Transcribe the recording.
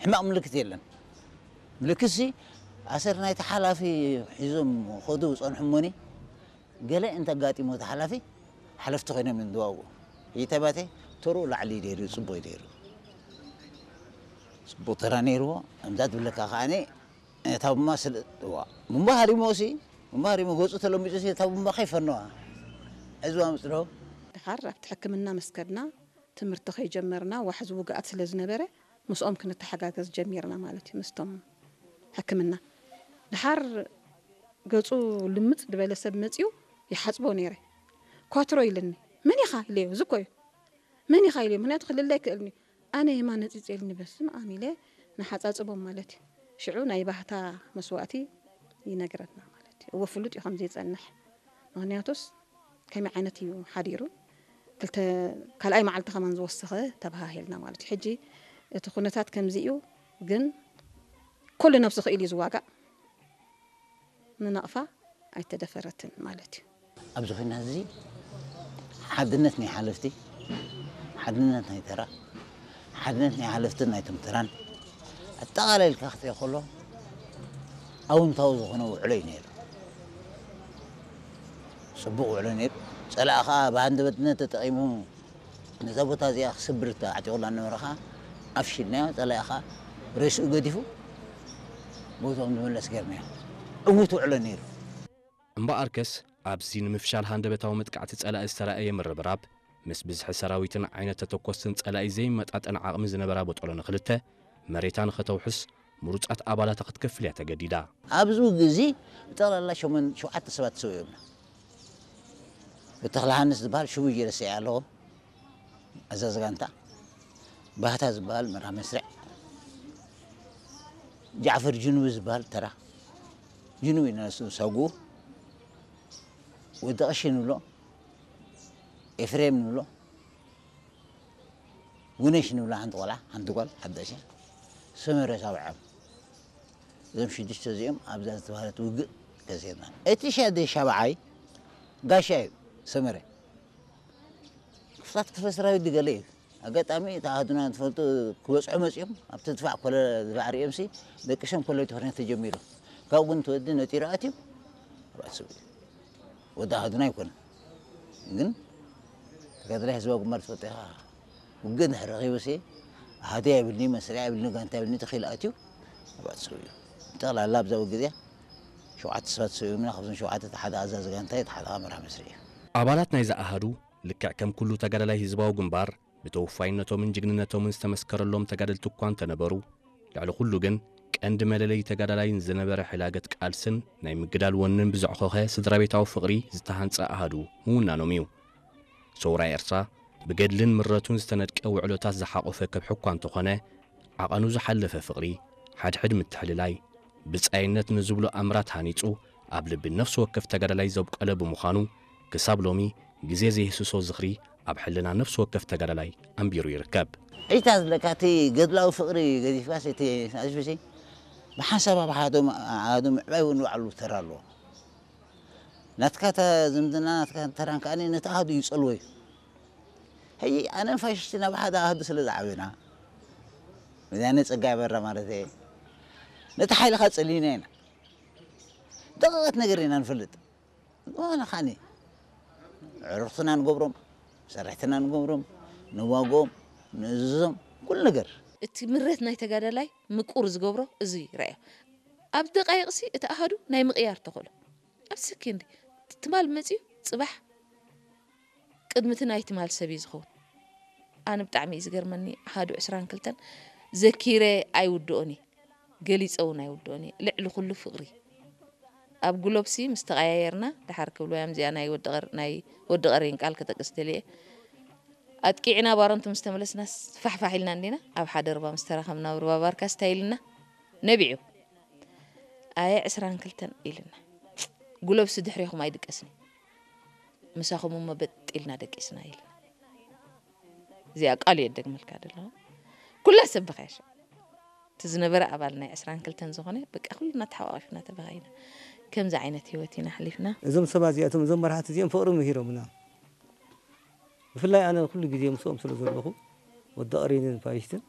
ሕማቕ ምልክት የለን። ምልክትሲ ኣሰር ናይቲ ሓላፊ ሒዞም ኸዱ ጸንሑ እሞኒ፣ ገለ እንተጋጢሞ እቲ ሓላፊ ሓለፍቲ ኮይኖም እዮም ዝዋግኡ። ይተባተ ተሩ ላዕሊ ነይሩ፣ ጽቡቕ ነይሩ። ጽቡቕ ተራ ነይርዎ። ከምዛ ትብለካ ከዓኒ እታ ቡማ ስለ ዋ፣ ቡማ ሃሪሞሲ፣ ቡማ ሃሪሞ ገጹ ተለሚጹሲ እታ ቡማ ከይፈነዋ። ዕዝዋ ምጽዶ። ድሓር ኣብቲ ሕክምና ምስ ከድና፣ ትምህርቲ ከይጀመርና ዋሕዚ ውግኣት ስለ ዝነበረ፣ ምስኦም ክንተሓጋገዝ ጀሚርና ማለት እዩ፣ ምስቶም ሕክምና። ድሓር ገጹ ልምጽ ዝበለ ሰብ መጺኡ ይሓጽቦ ነይረ። ኳትሮ ኢልኒ። "መን ኢኻ?" ኢለዮ፣ እዚ እኮ እዩ። "መን ኢኻ?" ኢለዮ፣ ምኽንያቱ ክልለ ኣይክእልን እዩ። ኣነ የማነ ጺጽ ኢልኒ፣ በስመ ኣብ ኢለ ንሓጻጽቦም ማለት እዩ። ሽዑ ናይ ባህታ መስዋእቲ ይነግረና ማለት እዩ። እወ ፍሉጥ እዩ ከም ዘይጸንሕ። ምኽንያቱስ ከመይ ዓይነት እዩ ሓዲሩ? ክልተ፣ ካልኣይ መዓልቲ ከማን ዝወሰኸ ተበሃሂልና ማለት እዩ። ሕጂ እቲ ኩነታት ከምዚ እዩ፣ ግን ኩሉ ነብሱ ክኢሉ እዩ ዝዋጋእ። ንናቕፋ ኣይተደፈረትን ማለት እዩ። ኣብዚ ኩናት እዚ ሓድነት ናይ ሓለፍቲ፣ ሓድነት ናይ ተራ፣ ሓድነት ናይ ሓለፍትን ናይቶም ተራን ኣጠቓላሊልካ ክትሪኦ ከሎ ኣውንታዊ ዝኾነ ውዕሎ እዩ ነይሩ። ጽቡቕ ውዕሎ ነይሩ። ጸላኢ ኸኣ ብሃንደበትነት ተጠቒሙ ነዛ ቦታ እዚኣ ክስብር ተዓጢቑላ ነበረ ኸኣ ኣፍሽልናዮ። ጸላኢ ኸኣ ሬስኡ ገዲፉ ቦታኡ ንመለስ ጌርናዮ። ዕዉት ውዕሎ ነይሩ። እምበኣርከስ ኣብዚ ንምፍሻል ሃንደበታዊ መጥቃዕቲ ጸላኢ ዝተራእየ ምርብራብ ምስ ብዝሒ ሰራዊትን ዓይነት ተተኮስትን ጸላኢ ዘይመጣጠን ዓቕሚ ዝነበራ ቦጦሎ ንኽልተ መሬታ ንኸተውሕስ ምሩጻት ኣባላታ ክትከፍል እያ ተገዲዳ። ኣብዚ ግዜ ብጠቕላላ ሸሞን-፣ ሸውዓተ ሰባት ሰው እዮም። ብተኽለ ሃንስ ዝበሃል ሽቡ እየረሰየ ኣለኹ፣ ኣዛዚ ጋንታ። ባህታ ዝበሃል መራ መስርዕ። ጃዕፈር ጅኑብ ዝበሃል ተራ። ጅኑብ እዩ ነሱ ሰጉ። ወዲ ቀሺ ንብሎ፣ ኤፍሬም ንብሎ፣ ጉነሽ ንብላ ሓንቲ ቆልዓ፣ ሓንቲ ጓል ሓዳሽ እያ። ሰመረ ሳብዓም። እዞም ሽዱሽተ እዚኦም ኣብዛ ዝተባህለት ውግእ ከሲርና። እቲ ሻደ ሻብዓይ ጋሻ እዩ፣ ሰመረ። ክፍላት ክፍለ ሰራዊት ድገለ እዩ። ኣጋጣሚ እቲ ኣሃዱና ትፈልጡ ክበጽሑ መጺኦም፣ ኣብቲ ድፋዕ ኮለ-፣ ድፋዕ ሪኦምሲ ደቂሶም ኮለል ትኾነ ተጀሚሩ። ካብኡ ግን እቲ ወዲ ነጢሩ ኣትዩ፣ ኣብ ኣስቡ እዩ። ወዲ ኣሃዱና ኣይኮነን። ግን ተጋዳላይ ህዝባዊ ግንባር ትፈልጦ ኢኻ። ውግእ እንድሕር ረኺቡሲ፣ ኣሃዱ ኣይብልኒ፣ መስርዕ ኣይብልኒ፣ ጋንታ ኣይብልኒ፣ ተኺሉ ኣትዩ፣ ኣብ ኣስቡ እዩ። ጠቕላላ ኣብዛ ውግእ እዚኣ ሸውዓተ ሰባት ሰው እዩምና፣ ካብዞም ሸውዓተ እቲ ሓደ ኣዛዚ ጋንታ እዩ፣ እቲ ሓደ ከዓ መራሕ መስርዕ እዩ። ኣባላት ናይዛ ኣሃዱ ልክዕ ከም ኩሉ ተጋዳላይ ህዝባዊ ግንባር ብተወፋይነቶምን ጅግንነቶምን ዝተመስከረሎም ተጋደልቲ እኳ እንተነበሩ፣ ልዕሊ ኩሉ ግን ቀንዲ መለለዪ ተጋዳላይን ዝነበረ ሕላገት ቃልስን ናይ ምግዳል ወንን ብዘዕኾኸ ስድራ ቤታዊ ፍቕሪ ዝተሃንጸ ኣሃዱ ምውናኖም እዩ። ሰውራ ኤርትራ ብገድልን ምረቱን ዝተነድቀ ውዕሎታት ዝሓቖፈ ከብሒ እኳ እንተኾነ፣ ዓቐኑ ዝሓለፈ ፍቕሪ፣ ሓድሕድ ምትሕልላይ፣ ብጻይነት ንዝብሎ ኣምራት ሃኒጹ ኣብ ልቢ ነፍሲ ወከፍ ተጋዳላይ ዘብቆለ ብምዃኑ፣ ክሳብ ሎሚ ግዜ ዘይህስሶ ዝኽሪ ኣብ ሕልና ነፍሲ ወከፍ ተጋዳላይ ኣንቢሩ ይርከብ። ዒታ ዝለካ እቲ ገድላዊ ፍቕሪ ገዲፍካስ እቲ ሳስቢሲ ብሓንሳብ ኣብ ኣሃዱ፣ ኣሃዱ ምዕባይ እውን ባዕሉ ተራ ኣለዎ። ናትካ ተ-፣ ዝምድና ናትካ ተራን ከኣ ነቲ ኣሃዱ ይጸልዎ እዩ። ሕጂ ኣነን ፋሽስትን ኣብ ሓደ ኣሃዱ ስለ ዝዓበና፣ ወያነ ጸጋይ ኣበራ ማለት እየ፣ ነቲ ሓይልኻ ጸሊእና ኢና። ደቂቐት ነገር ኢና ንፈልጥ። ዝኾነ ኸኣኒ ኣዕሩኽትና ንገብሮም፣ ሰራሕትና ንገብሮም፣ ንዋግኦም፣ ንእዝዞም፣ ኩሉ ነገር። እቲ ምረት ናይ ተጋዳላይ ምቁር ዝገብሮ እዚ እዩ፣ ረኣዮ። ኣብ ደቃይቕሲ እቲ ኣሃዱ ናይ ምቕያር ተኽእሎ። ኣብ ሰኬንድ ትማል መጺኡ ጽባሕ ቅድሚ እቲ ናይ ትማል ሰብ እዩ ዝኸውን። ኣነ ብጣዕሚ እዩ ዝገርመኒ፣ ኣሃዱ ዕስራን ክልተን ዘኪረ ኣይውድኦን እየ፣ ገሊጸ እውን ኣይውድኦን እየ። ልዕሊ ኩሉ ፍቕሪ። ኣብ ጉሎብሲ ምስ ተቐያየርና፣ ደሓር ክብልዋ እዮም፣ እዚኣ ናይ ወዲ ቀር-፣ ናይ ወዲ ቀሬን ቃል ክጠቅስ ደልየ። ኣጥቂዕና ባረንቱ ምስ ተመለስናስ ፋሕፋሕ ኢልና እንዲና፣ ኣብ ሓደ ርባ ምስ ተራኸብና፣ ኣብ ርባ ባርካስ እንታይ ኢልና? ነቢዑ። ኣየ ዕስራን ክልተን ኢልና። ጉሎብሲ ድሕሬኹም ኣይድቀስን እዩ። ምሳኹም እሞ በጥ ኢልና ደቂስና ኢልና። እዚኣ ቃል እየ እደግመልካ ዘለኹ። ኩላ ሰብ በኸያ ሽዑ። እቲ ዝነበረ ኣባል ናይ ዕስራን ክልተን ዝኾነ፣ በቃ ኩልና ተሓቋቒፍና ተበኻይና። ከምዚ ዓይነት ህይወት ኢና ኣሕሊፍና። እዞም ሰባት እዚኣቶም፣ እዞም መራሕቲ እዚኦም ፍቕሪ ምሂሮምና። ብፍላይ ኣነ ኩሉ ግዜ ምስኦም ስለ ዘለኹ፣ ወዲ ቀሬንን ፋሽስትን